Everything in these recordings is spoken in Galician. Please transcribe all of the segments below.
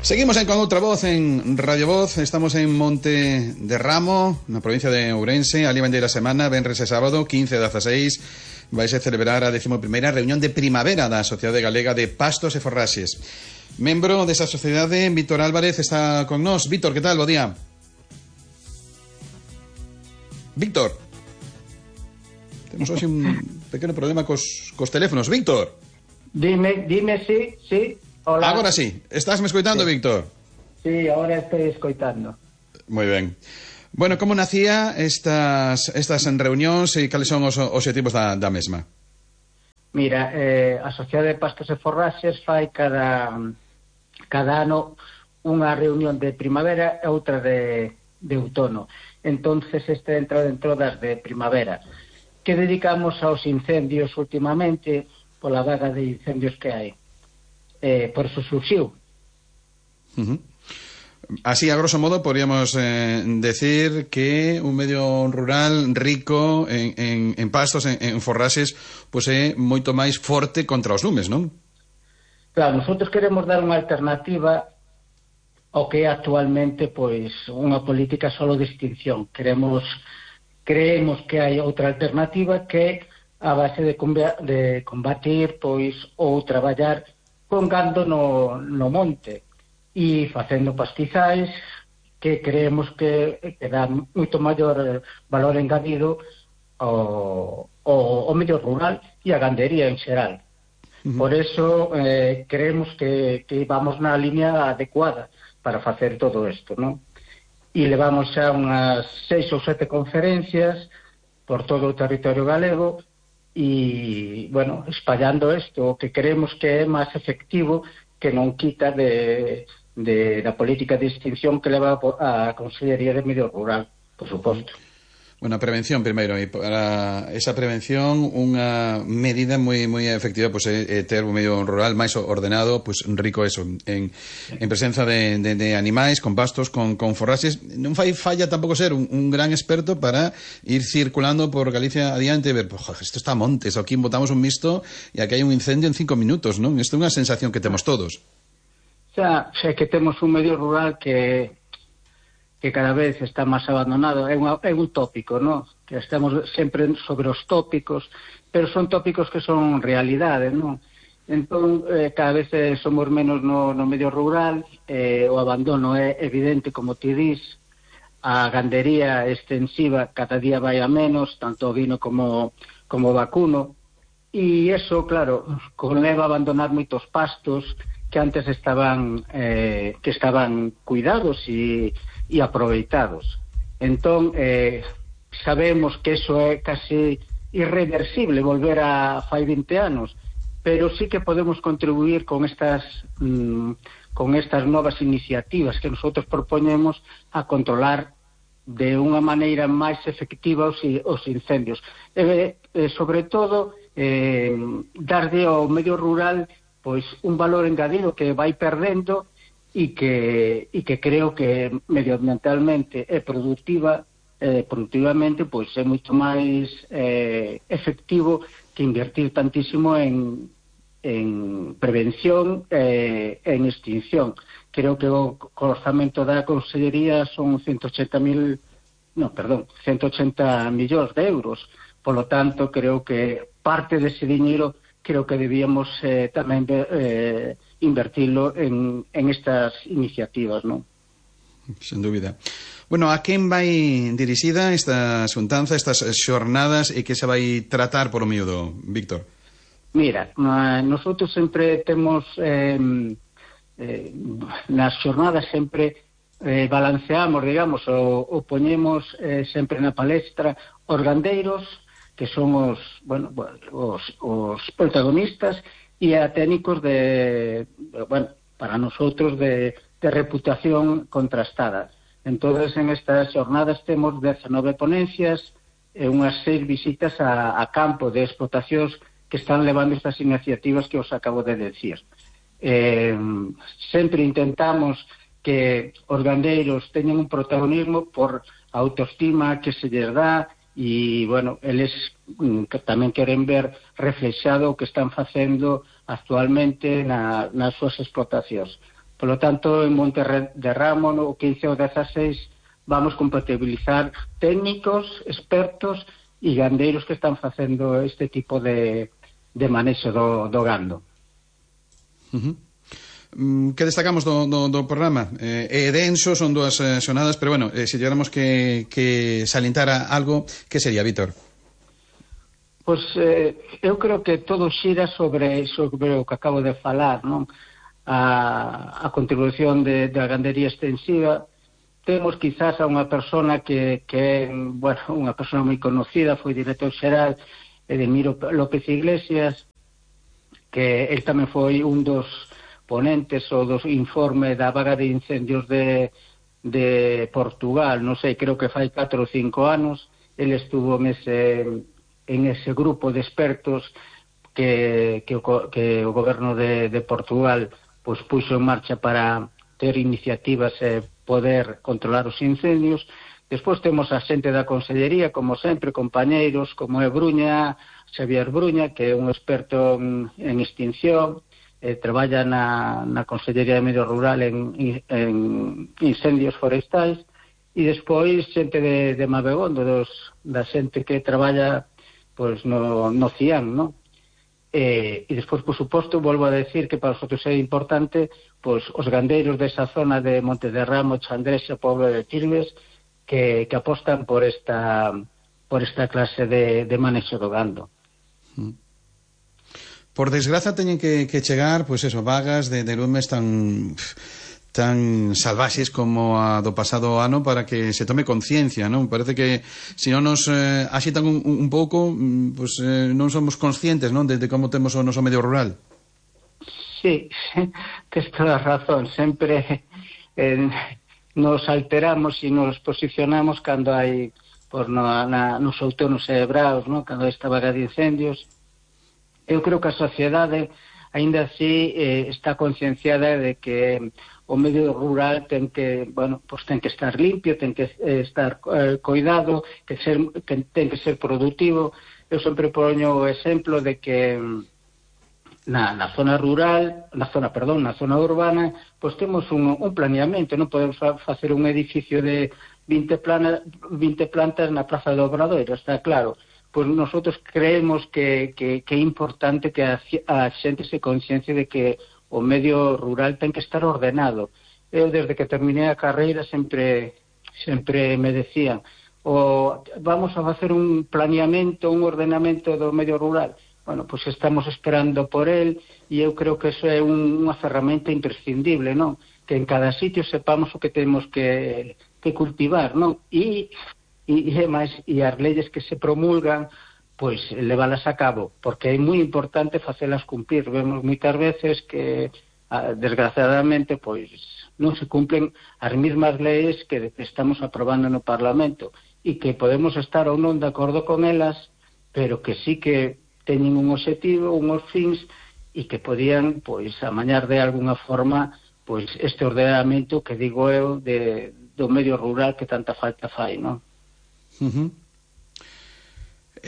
Seguimos con outra voz en Radio Voz. Estamos en Monte de Ramo, na provincia de Ourense. Ali van de a semana, venres e sábado, 15 e 16, vais a celebrar a 11ª reunión de primavera da Sociedade Galega de Pastos e Forraxes. Membro desa sociedade, Víctor Álvarez, está con nós. Víctor, que tal? Bo día. Víctor. Temos hoxe un pequeno problema cos teléfonos. Víctor. Dime, sí. Hola. Agora sí. Estás me escoitando, sí. Víctor? Sí, ahora estoy escoitando. Moi ben. Bueno, como nacía estas reunións e cales son os obxectivos da mesma? Mira, a Sociedade de Pastos e Forraxes fai cada ano unha reunión de primavera e outra de outono. Entonces este entra dentro das de primavera, que dedicamos aos incendios últimamente, pola vaga de incendios que hai. Por eso surxiu. Así, a grosso modo, podríamos decir que un medio rural rico en pastos, en forraxes, pois é moito máis forte contra os lumes, non? Claro, nosotros queremos dar unha alternativa ao que é actualmente pois unha política solo de extinción. Creemos que hai outra alternativa que a base de combatir pois ou traballar con gando no monte e facendo pastizais que creemos que dá moito maior valor engadido ao medio rural e a gandería en xeral. Por eso creemos que vamos na línea adecuada para facer todo isto, non? E levamos xa unhas 6 ou 7 conferencias por todo o territorio galego e, bueno, espallando isto, que creemos que é máis efectivo, que non quita da política de extinción que leva a Consellería de Medio Rural, por suposto. Bueno, a prevención primeiro, e para esa prevención unha medida moi efectiva pois é ter un medio rural máis ordenado, pois rico eso, en presenza de animais, con pastos, con forraxes. Non fai falla tampouco ser un gran experto para ir circulando por Galicia adiante e ver, isto está a montes, aquí botamos un misto e aquí hai un incendio en 5 minutos, non? Isto é unha sensación que temos todos. Xa que temos un medio rural que cada vez está máis abandonado, é un tópico, non? Que estamos sempre sobre os tópicos, pero son tópicos que son realidade, non? Entón, cada vez somos menos no medio rural, o abandono é evidente, como ti dis, a gandería extensiva cada día vai a menos, tanto ovino como vacuno, e eso, claro, conleva a abandonar moitos pastos que antes estaban cuidados e aproveitados. Entón, sabemos que eso é casi irreversible, volver a fai 20 anos, pero sí que podemos contribuir con estas novas iniciativas que nosotros propoñemos a controlar de unha maneira máis efectiva os incendios. Sobre todo, darlle ao medio rural pois un valor engadido que vai perdendo e que creo que medioambientalmente e productivamente pois é moito máis efectivo que invertir tantísimo en prevención e en extinción. Creo que o orzamento da Consellería son 180 millóns de euros. Por lo tanto, creo que parte dese diñeiro creo que debíamos tamén invertilo en estas iniciativas, non? Sen dúbida. Bueno, a quen vai dirixida esta xuntanza, estas xornadas, e que se vai tratar por o miúdo, Víctor? Mira, nosotros sempre temos nas xornadas sempre balanceamos, digamos, o poñemos sempre na palestra os gandeiros, que son os protagonistas, e a técnicos para nosotros de reputación contrastada. Entonces, en estas xornadas temos 19 ponencias e unhas 6 visitas a campo de explotacións que están levando estas iniciativas que os acabo de decir. Sempre intentamos que os gandeiros teñan un protagonismo por a autoestima que se lles dá e, bueno, eles que tamén queren ver reflexado o que están facendo actualmente nas súas explotacións. Por lo tanto, en Monte de Ramo, no 15 ou 16, vamos compatibilizar técnicos, expertos e gandeiros que están facendo este tipo de manexo do gando. Que destacamos do programa? É denso, son 2 xornadas, pero bueno, se llegáramos que salientar algo, que sería, Víctor? Pois eu creo que todo xira sobre o que acabo de falar, non? A contribución da gandería extensiva. Temos quizás a unha persona que é, bueno, unha persona moi conocida, foi director xeral, Edemiro López Iglesias, que él tamén foi un dos ponentes ou dos informe da vaga de incendios de Portugal, non sei, creo que fai 4 ou 5 anos. Ele estuvo en ese grupo de expertos que o goberno de Portugal pues puxo en marcha para ter iniciativas e poder controlar os incendios. Despois temos a xente da Consellería, como sempre, compañeiros, como é Xavier Bruña, que é un experto en extinción, traballa na Consellería de Medio Rural en incendios forestais, e despois xente de Mabegondo, da xente que traballa pois no CIAN, non? E despois, por suposto, volvo a decir que para nosotros é importante pois os gandeiros desa zona de Monte de Ramo, Chandrexa, Poblo de Tirves, que apostan por esta clase de manexo do gando. Por desgraza teñen que chegar, pois eso, vagas de lumes tan salvaxes como a do pasado ano para que se tome conciencia, non? Parece que se non nos axitan un pouco, pois non somos conscientes, non, de como temos o noso medio rural. Sí, tes toda a razón. Sempre nos alteramos e nos posicionamos cando hai nos outonos cerebraos, non? Cando hai esta vaga de incendios. Eu creo que a sociedade aínda así está concienciada de que o medio rural ten que estar limpio, ten que estar coidado, ten que ser productivo. Eu sempre poño o exemplo de que na zona urbana, pois temos un planeamento, non podemos facer un edificio de 20 plantas na Praza do Obradoiro, está claro. Pois nosotros creemos que é importante que a xente se consciencie de que o medio rural ten que estar ordenado. Eu, desde que terminei a carreira, sempre me decían vamos a facer un planeamento, un ordenamento do medio rural. Bueno, pois estamos esperando por el, e eu creo que eso é unha ferramenta imprescindible, non? Que en cada sitio sepamos o que temos que cultivar, non? E as leyes que se promulgan, pois levalas a cabo, porque é moi importante facelas cumplir. Vemos moitas veces que, desgraciadamente, pois non se cumplen as mesmas leyes que estamos aprobando no Parlamento, e que podemos estar ou non de acordo con elas, pero que sí que teñen un objetivo, unhos fins, e que podían, pois, amañar de alguna forma, pois, este ordenamento que digo eu do medio rural que tanta falta fai, non?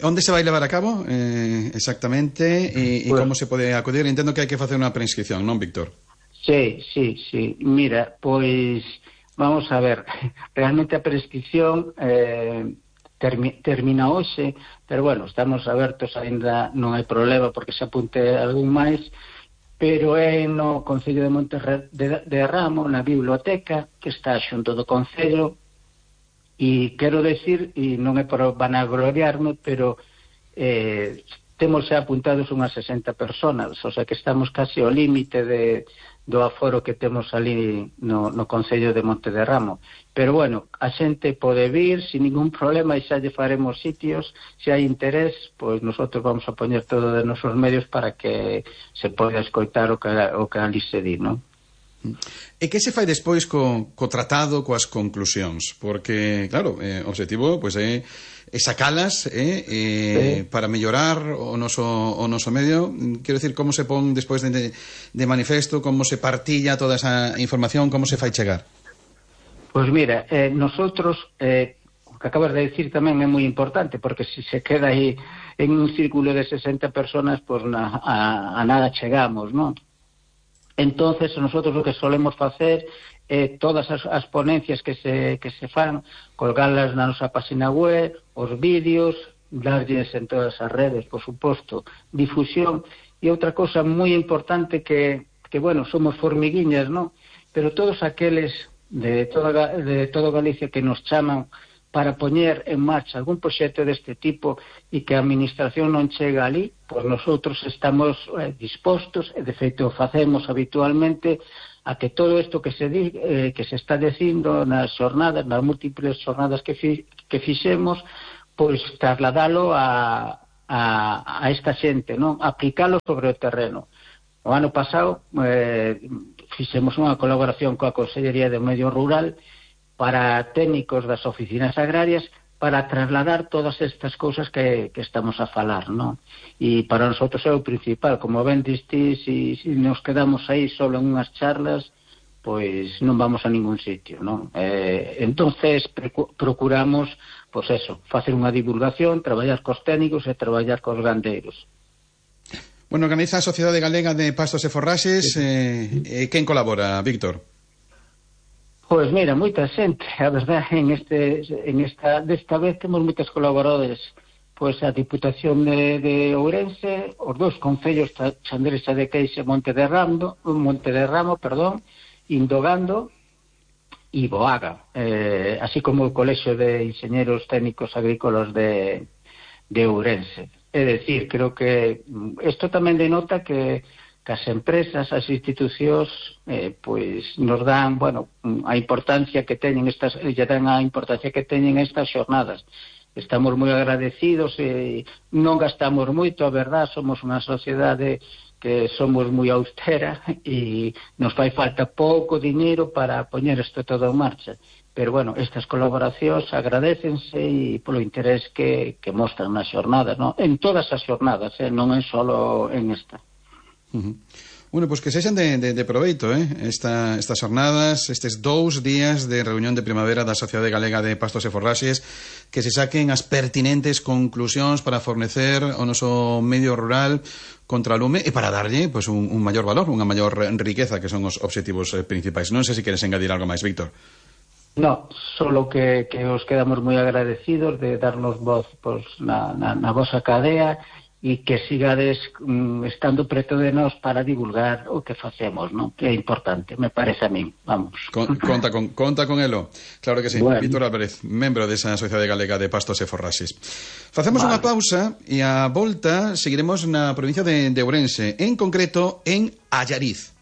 Onde se vai levar a cabo exactamente e como se pode acudir? Entendo que hai que facer unha preinscripción, non, Víctor? Sí. Mira, pois vamos a ver, realmente a prescripción termina hoxe, pero bueno, estamos abertos, aínda non hai problema porque se apunte algún máis, pero é no Concello de Monte de Ramo, na biblioteca que está xunto do Concello. E quero decir, e non é por vanagloriarme, pero temos xa apuntados unhas 60 personas, o sea que estamos casi ao límite do aforo que temos ali no Concello de Monte de Ramo. Pero bueno, a xente pode vir sin ningún problema e xa lle faremos sitios. Se hai interés, pois nosotros vamos a poñer todo de nosos medios para que se poida escoitar o que ali se di, non? E que se fai despois co tratado, coas conclusións? Porque, claro, o objetivo pois, é sacalas para mellorar o noso medio. Quero dicir, como se pon despois de manifesto, como se partilla toda esa información, como se fai chegar? Pois mira, nosotros, o que acabas de decir tamén é moi importante, porque se se queda aí en un círculo de 60 personas, pois a nada chegamos, non? Entonces, nosotros o que solemos facer todas as ponencias que se fan, colgalas na nosa página web, os vídeos, darlles en todas as redes, por suposto, difusión. E outra cosa moi importante que bueno, somos formiguiñas, ¿no? Pero todos aqueles de todo Galicia que nos chaman para poñer en marcha algún proxecto deste tipo e que a administración non chega ali, pois nosotros estamos dispostos, e de feito facemos habitualmente, a que todo isto que se está dicindo nas xornadas, nas múltiples xornadas que fixemos, pois trasladalo a esta xente, non? Aplicalo sobre o terreno. O ano pasado fixemos unha colaboración coa Consellería de Medio Rural para técnicos das oficinas agrarias para trasladar todas estas cousas que estamos a falar, non? E para nosotros é o principal, como ben diste, se nos quedamos aí solo en unhas charlas, pois non vamos a ningún sitio, non? Entonces procuramos, pois eso, facer unha divulgación, traballar cos técnicos e traballar cos gandeiros. Bueno, organiza a Sociedade Galega de Pastos e Forraxes, quen colabora, Víctor? Pois mira, moita xente, a verdade, desta vez temos moitos colaboradores, pois a Diputación de Ourense, os dous concellos, Chandrexa de Queixa e Monte de Ramo, Indogando e Boaga, así como o Colexio de Inxeñeros Técnicos Agrícolas de Ourense. É dicir, creo que isto tamén denota que as empresas, as institucións, pois nos dan, bueno, a importancia que teñen estas xornadas. Estamos moi agradecidos e non gastamos moito, a verdad, somos unha sociedade que somos moi austera e nos fai falta pouco diñeiro para poñer isto todo en marcha. Pero, bueno, estas colaboracións agradécense e polo interés que mostran nas xornadas, non? En todas as xornadas, non é solo en esta. Bueno, pois que sexan de proveito, estas jornadas, estes 2 días de reunión de primavera da Sociedade Galega de Pastos e Forraxes, que se saquen as pertinentes conclusións para fornecer o noso medio rural contra o lume e para darlle pois, un maior valor, unha maior riqueza, que son os obxectivos principais. Non sei se queres engadir algo máis, Víctor. No, solo que os quedamos moi agradecidos de darnos voz pois, na vosa cadea e que sigades estando preto de nós para divulgar o que facemos, non? Que é importante, me parece a min, vamos. Conta con elo, claro que sí. Bueno. Víctor Álvarez, membro desa Sociedade Galega de Pastos e Forraxes. Facemos unha pausa e a volta seguiremos na provincia de Ourense, en concreto en Allariz.